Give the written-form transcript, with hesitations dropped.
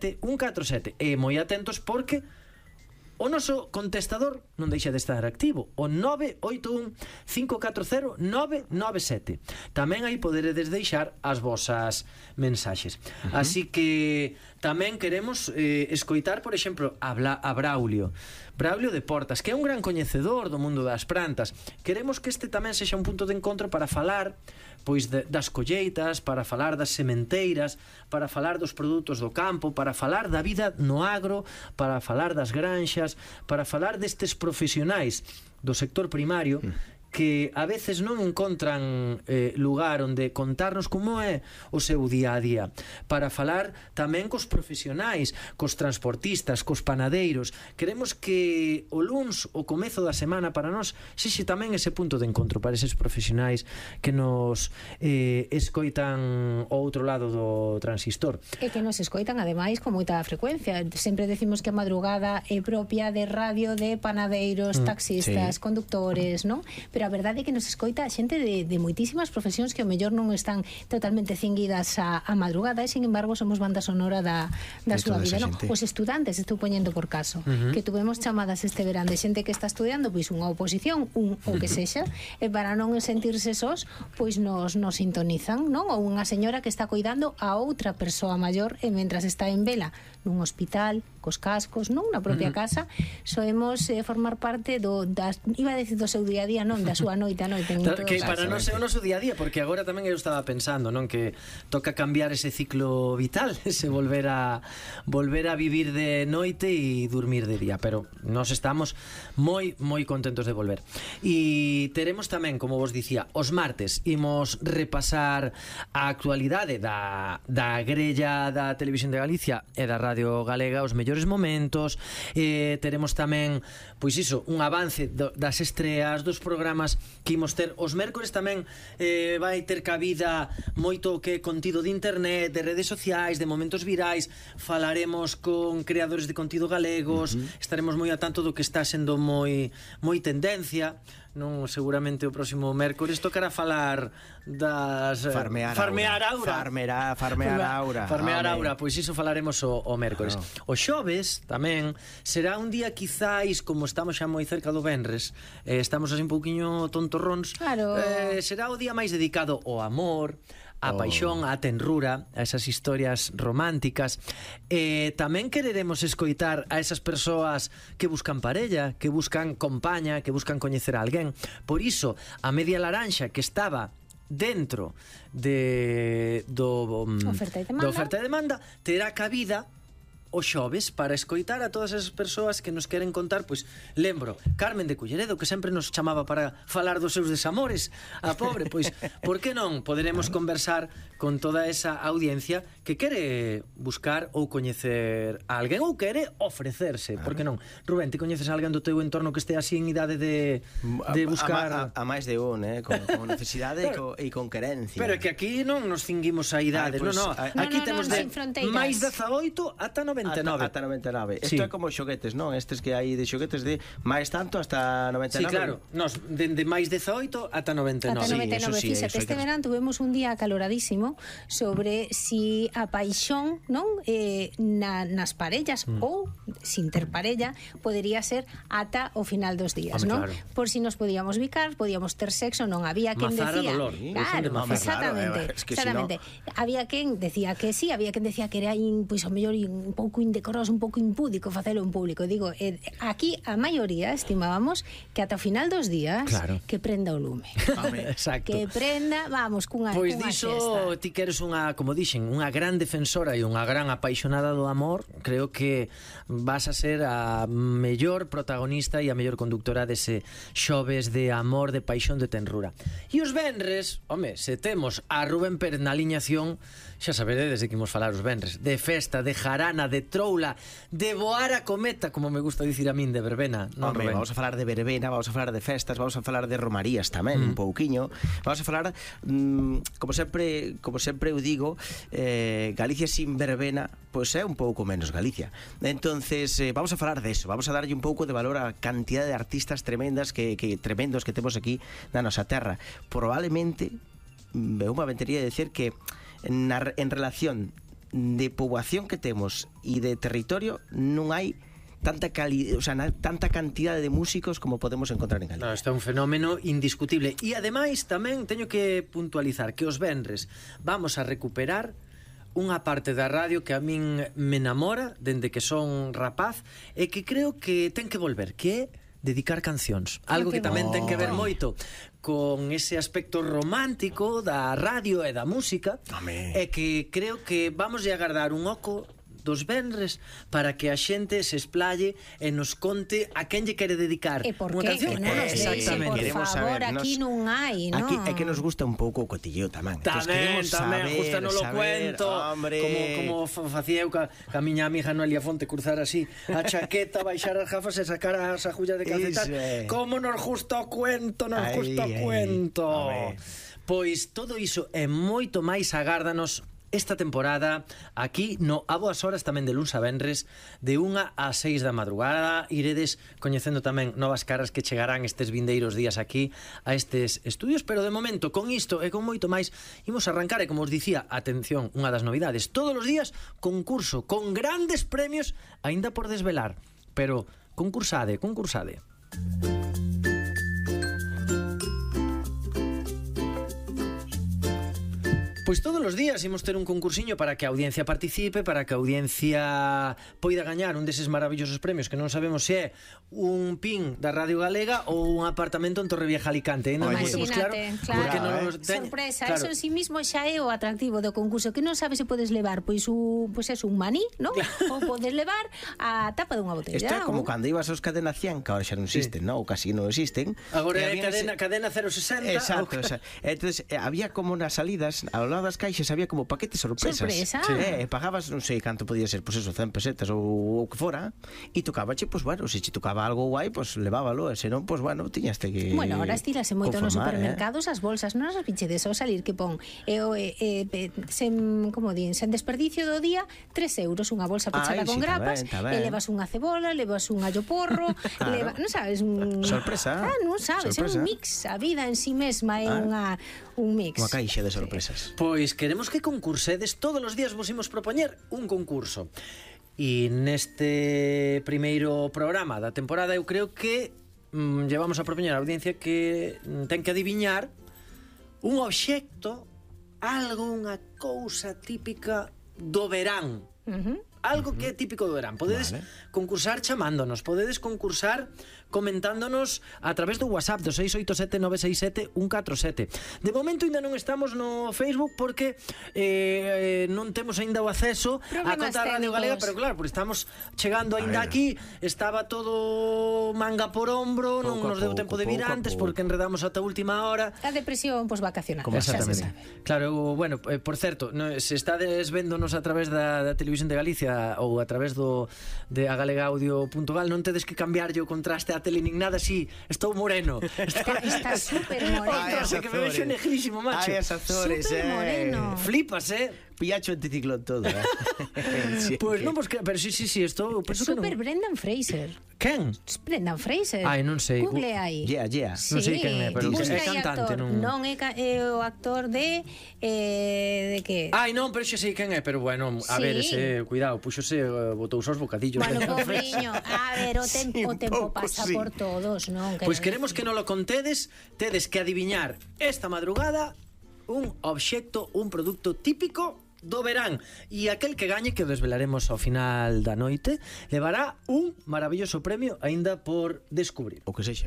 987 147. E moi atentos porque o noso contestador non deixa de estar activo, o 981 540 997. Tamén aí poderedes deixar as vosas mensaxes. Así que tamén queremos escoitar, por exemplo, a Braulio de Portas, que é un gran coñecedor do mundo das plantas. Queremos que este tamén sexa un punto de encontro para falar pois das colleitas, para falar das sementeiras, para falar dos produtos do campo, para falar da vida no agro, para falar das granxas, para falar destes profesionais do sector primario que a veces non encontran lugar onde contarnos como é o seu día a día, para falar tamén cos profesionais, cos transportistas, cos panadeiros. Queremos que o luns, o comezo da semana para nós, sexe tamén ese punto de encontro para eses profesionais que nos escoitan ao outro lado do transistor. E que nos escoitan ademais con moita frecuencia. Sempre decimos que a madrugada é propia de radio de panadeiros, taxistas, conductores, non? Pero a verdade é que nos escoita xente de moitísimas profesións que ao mellor non están totalmente cinguidas a madrugada e, sin embargo, somos banda sonora da súa vida, non? Os estudantes, estou poñendo por caso, que tuvemos chamadas este verán de xente que está estudiando pois unha oposición, o que sexa, e para non sentirse sós, pois nos sintonizan, non? Ou unha señora que está cuidando a outra persoa maior e mentras está en vela nun hospital, cos cascos, non? Na propia casa, soemos formar parte iba a decir do seu día a día, non, da súa noite a noite. Que para nós é o noso día a día, porque agora tamén eu estaba pensando, non, que toca cambiar ese ciclo vital, ese volver a vivir de noite e dormir de día, pero nós estamos moi contentos de volver. E teremos tamén, como vos dicía, os martes imos repasar a actualidade da grella da Televisión de Galicia e da Radio Galega, os mellores momentos. Teremos tamén, pois iso, un avance das estreas, dos programas que imos ter. Os mércores tamén vai ter cabida moito que contido de internet, de redes sociais, de momentos virais. Falaremos con creadores de contido galegos, estaremos moi a tanto do que está sendo moi tendencia, non? Seguramente o próximo mércores tocará falar das Farmear Aura, pois iso falaremos o mércores. O xoves tamén será un día quizáis, como estamos xa moi cerca do venres, estamos así un pouquiño tontorróns, será o día máis dedicado ao amor, a paixón, a tenrura, a esas historias románticas. Tamén quereremos escoitar a esas persoas que buscan parella, que buscan compaña, que buscan coñecer a alguén. Por iso, a media laranxa que estaba dentro do oferta e demanda terá cabida o xoves para escoitar a todas esas persoas que nos queren contar. Pois lembro, Carmen de Culleredo, que sempre nos chamaba para falar dos seus desamores, a pobre, pois por que non poderemos conversar con toda esa audiencia que quere buscar ou coñecer a alguén ou quere ofrecerse, por que non? Rubén, ti coñeces a alguén do teu entorno que este así en idade de buscar a máis de un, con necesidade e con querencia. Pero é que aquí non nos cinguimos a idade, aquí temos de máis 18 ata 99. Ata 99. Isto é como xoguetes, non? Estes que hai de xoguetes de máis tanto hasta 99. Sí, claro. Nos de máis 18 ata 99. Ata 99. Fíxate, este verán tuvemos un día acaloradísimo sobre si a paixón, non? Nas parellas ou sin ter parella podería ser ata o final dos días, non? Claro. Por si nos podíamos bicar, podíamos ter sexo, non había quen decía. Claro, exactamente. Había quen decía que sí, había quen decía que era pois o mellor un pouco indecoroso, un pouco impúdico facelo en público. Digo, aquí a maioría estimábamos que ata o final dos días que prenda o lume. Exacto. Que prenda, vamos, cunha pois diso, ti que eres unha, como dixen, unha gran defensora e unha gran apaixonada do amor, creo que vas a ser a mellor protagonista e a mellor conductora dese xoves de amor, de paixón, de tenrura. E os venres, home, se temos a Rubén Pérez na aliñación, xa saberedes de que imos falar os venres, de festa, de jarana, de troula, de voar a cometa, como me gusta dicir a min, de verbena, non, Rubén? Vamos a falar de verbena, vamos a falar de festas, vamos a falar de romarías tamén, un pouquiño. Vamos a falar, como sempre eu digo, Galicia sin verbena, pois é un pouco menos Galicia. Entonces, vamos a falar deso, vamos a darlle un pouco de valor á cantidad de artistas tremendos que temos aquí na nosa terra. Probablemente, eu me aventuraría a decir que en relación de poboación que temos e de territorio non hai tanta tanta cantidade de músicos como podemos encontrar en Galicia. No, isto é un fenómeno indiscutible. E ademais tamén teño que puntualizar que os venres vamos a recuperar unha parte da radio que a min me enamora dende que son rapaz e que creo que ten que volver, que é dedicar cancións. Algo que tamén ten que ver moito con ese aspecto romántico da radio e da música. E que creo que vamos a agardar un oco dos venres para que a xente se explaye e nos conte a quen lle quere dedicar unha canción. Que non nos deixe, por favor, aquí non hai, non? Aquí é que nos gusta un pouco o cotilleo tamén. Tamén, gusta no lo cuento. Como facía eu ca miña amiga Noelia Fonte, cruzar así a chaqueta, baixar as gafas e sacar as agullas de calcetar. Como nos gusta o cuento, nos gusta o cuento. Pois todo iso e moito máis agárdanos esta temporada aquí no A Boas Horas, tamén de luns a venres de 1 a 6 da madrugada. Iredes coñecendo tamén novas caras que chegarán estes vindeiros días aquí a estes estudios, pero de momento con isto e con moito máis imos arrancar e como os dicía, atención, unha das novidades, todos os días concurso con grandes premios aínda por desvelar, pero concursade. Pois todos os días imos ter un concursiño para que a audiencia participe, para que a audiencia poida gañar un deses maravillosos premios que non sabemos se é un pin da Radio Galega ou un apartamento en Torrevieja, Alicante. Non temos claro. Sorpresa, claro. Eso en sí mismo xa é o atractivo do concurso, que non sabes se podes levar pois un maní, non? Claro. Ou podes levar a tapa dunha botella. Isto é como cando ibas aos Cadena 100, que agora xa non existen, non? Ou casi non existen. Agora é cadena 060. Exacto. Entonces había como nas salidas ao lado das caixas había como paquetes sorpresas. Pagabas, non sei canto podía ser, pois eso, 100 pesetas ou o que fora, e tocabache, pois bueno, se che tocaba algo guai, pois levábalo, e senón, pois bueno, tiñaste que Bueno, ahora estilase moito nos supermercados as bolsas, non as pichedes ao salir que pon sen desperdicio do día 3 euros unha bolsa pechada con grapas, e levas unha cebola, levas un allo porro, non sabes, sorpresa. Non sabes, é un mix, a vida en sí mesma é un mix. Unha caixa de sorpresas. Pois queremos que concursedes, todos os días vos imos propoñer un concurso. E neste primeiro programa da temporada eu creo que llevamos a propoñer a audiencia que ten que adiviñar un obxecto, algo, unha cousa típica do verán. Algo que é típico do verán. Podedes concursar chamándonos, podedes concursar comentándonos a través do WhatsApp do 687-967-147. De momento ainda non estamos no Facebook porque non temos ainda o acceso á conta da Radio Galega, pero claro, porque estamos chegando ainda aquí, estaba todo manga por hombro, non nos deu tempo de vir antes porque enredamos ata a última hora. A depresión vacacional. Exactamente. Claro, bueno, por certo, se estades véndonos a través da Televisión de Galicia ou a través de agalegaudio.gal, non tedes que cambiarlle o contraste a tele nin nada, así, estou moreno. Está super moreno. Que me vexo negrísimo, macho. Ai, as Azores, super moreno. Flipas, Pillacho anticiclón todo, Pois non, pero sí, estou super Brendan Fraser. Quen? Brendan Fraser. Ai, non sei. Google aí. Non sei quen é, pero é cantante, non é o actor de que? Ai, non, pero xa sei quen é, pero bueno, a ver, cuidado, puxose, botouse os bocadillos. Bueno, pobriño, a ver, o tempo pasa por todos, non? Pois queremos que non lo contedes, tedes que adiviñar esta madrugada un obxecto, un produto típico do verán, e aquel que gañe, que o desvelaremos ao final da noite, levará un maravilloso premio aínda por descubrir. O que sexa.